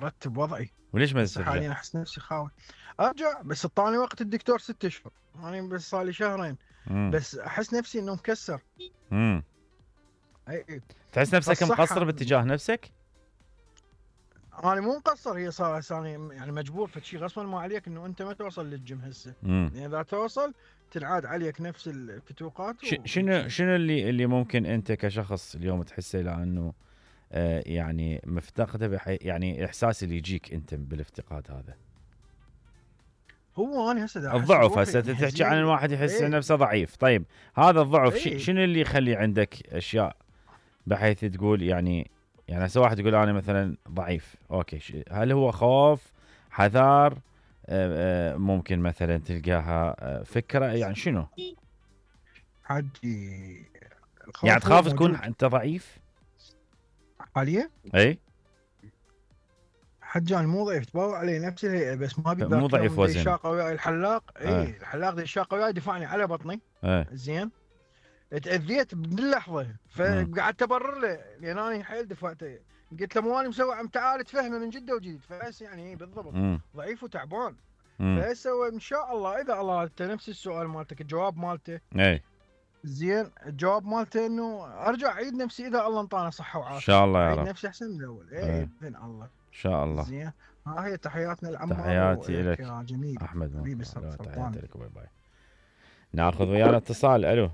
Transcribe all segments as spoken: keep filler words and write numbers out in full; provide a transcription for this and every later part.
مرتب وضعي. وليش ما بس ترجع؟ حاليا احس نفسي خاوي ارجع، بس اعطاني وقت الدكتور ست اشهر، انا يعني بس صار لي شهرين. مم. بس احس نفسي انه مكسر. امم اي اي تحس نفسك فالصحة- مقصر باتجاه نفسك؟ انا مو مقصر، هي صار ثاني يعني مجبور فشي غصبا ما عليك انه انت ما توصل للجيم هسه. امم يعني اذا توصل تنعاد عليك نفس الفتوقات. ش- شنو شنو اللي اللي ممكن انت كشخص اليوم تحسه لانه آه يعني مفتقده بحي يعني احساس اللي يجيك انت بالافتقاد هذا؟ هو انا هسه الضعف. هسه تحكي عن الواحد يحس ايه نفسه ضعيف. طيب هذا الضعف ش- ايه شنو اللي يخلي عندك اشياء بحيث تقول يعني يعني هسه واحد يقول انا مثلا ضعيف، اوكي، ش- هل هو خوف، حذر، آه، آه، ممكن مثلا تلقاها آه، فكره، يعني شنو؟ حجي الخوف يعني هو تخاف تكون موجود انت ضعيف؟ حاليا. اي حجي انا مو ضعيف، تباوع علي نفس الهيئه، بس ما ابي مو ذاك ضعيف يوم دي وزن. شاقه وياي الحلاق. آه. اي الحلاق دي شاقه وياي دفعني على بطني. ايه زين تاذيت باللحظه، مم. فقعدت ابرر له لان انا حيل دفعته. قلت له مو انا مسوي، عم تعال تفهمه من جده وجديد. فهسه يعني إيه بالضبط مم. ضعيف وتعبان. مم. فهسه ان شاء الله اذا الله انت نفس السؤال مالتك الجواب مالته. اي زين الجواب مالته انه ارجع اعيد نفسي اذا الله انطانا صحه ان وعافيه. شاء الله يا اعيد رب. نفسي احسن من الاول. إيه. اي باذن الله. ان شاء الله. زين ها هي تحياتنا العمار تحياتي وإلك لك يا جميل احمد. حبيبي تحياتي سلطان. لك. باي باي. ناخذ ويانا اتصال. الو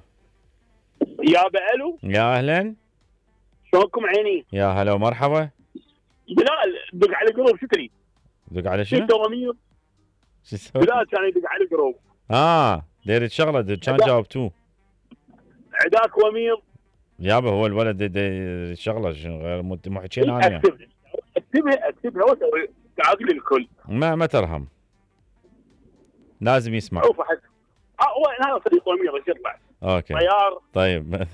يابا الو، يا اهلا. شلونكم عيني؟ يا هلا ومرحبا. بلال دق على جروب شكري. دق على شنو؟ ستة ومية. شو تسوي؟ بلال كان يدق على جروب. اه دير شغله دير كان عدا- جاوبتوه. عداك وميض. يابا هو الولد دي- دي شغله شنو غير مو مو حكينا انا يعني. اكتبها اكتبها اكتبها وسوي تعاقل الكل. ما ما ترهم، لازم يسمع. شوف حد اه هو هذا صديق وميض ايش يطلع؟ اوكي طيار. طيب.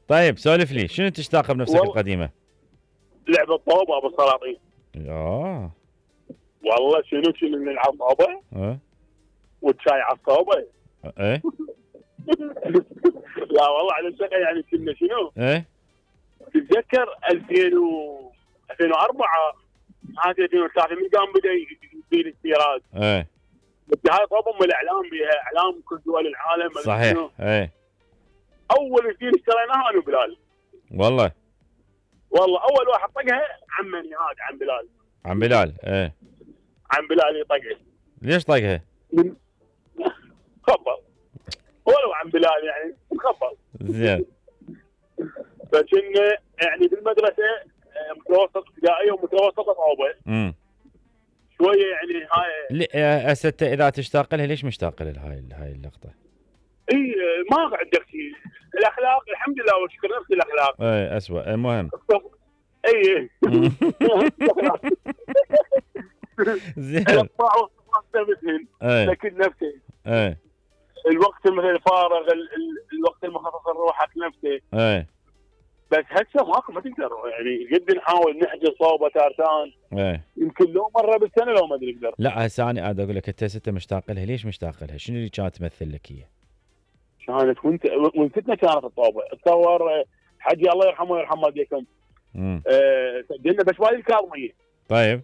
طيب سولف لي شنو تشتاق بنفسك والله. القديمه؟ لعبه طوبه ابو السلاطين. اه والله شنو شنو نلعب طوبه اه والشاي على الصوبه. ايه لا والله على الشقه يعني كنا شنو؟ ايه تتذكر ألفين و ألفين وأربعة هذه ألفين وثلاثة من قام بدا يصير استيراد. ايه هاي طبعا من الاعلام بها اعلام كل دول العالم. صحيح. ايه اول اثنين اشتريناها انا وبلال. والله والله اول واحد طقها عمني هذا عم بلال. عم بلال. ايه عم بلال يطقها. ليش طقها؟ خبر ولو عم بلال يعني خبر. زين. فكنا يعني بالمدرسه آه، متوسط ابتدائيه ومتوسطه صعوبه امم شويه يعني هاي. هسه انت اذا تشتاق لها ليش مشتاق لها هاي هاي اللقطه؟ اي آه، ما عندك شيء. الاخلاق الحمد لله والشكر نفس الاخلاق. ايه اسوء. المهم اي زين. الاطباع والصفات نفسهن. ايه لكن نفسه ايه الوقت مثلا الفارغ ال- ال- الوقت المخصص لروحك نفسه. ايه بس هسه ماكو ما تقدر يعني قد نحاول نحجز صوبه تارتان ايه يمكن لو مره بالسنه لو ما ادري اقدر. لا هسه انا قاعد اقول لك انت ست مشتاق لها ليش مشتاق لها؟ شنو اللي كانت تمثل لك هي؟ كانت وانت وانتنا كانت الطوبه تصور حجي الله يرحمه ويرحم والديكم. امم أه سجلنا بشوالي الكاظميه. طيب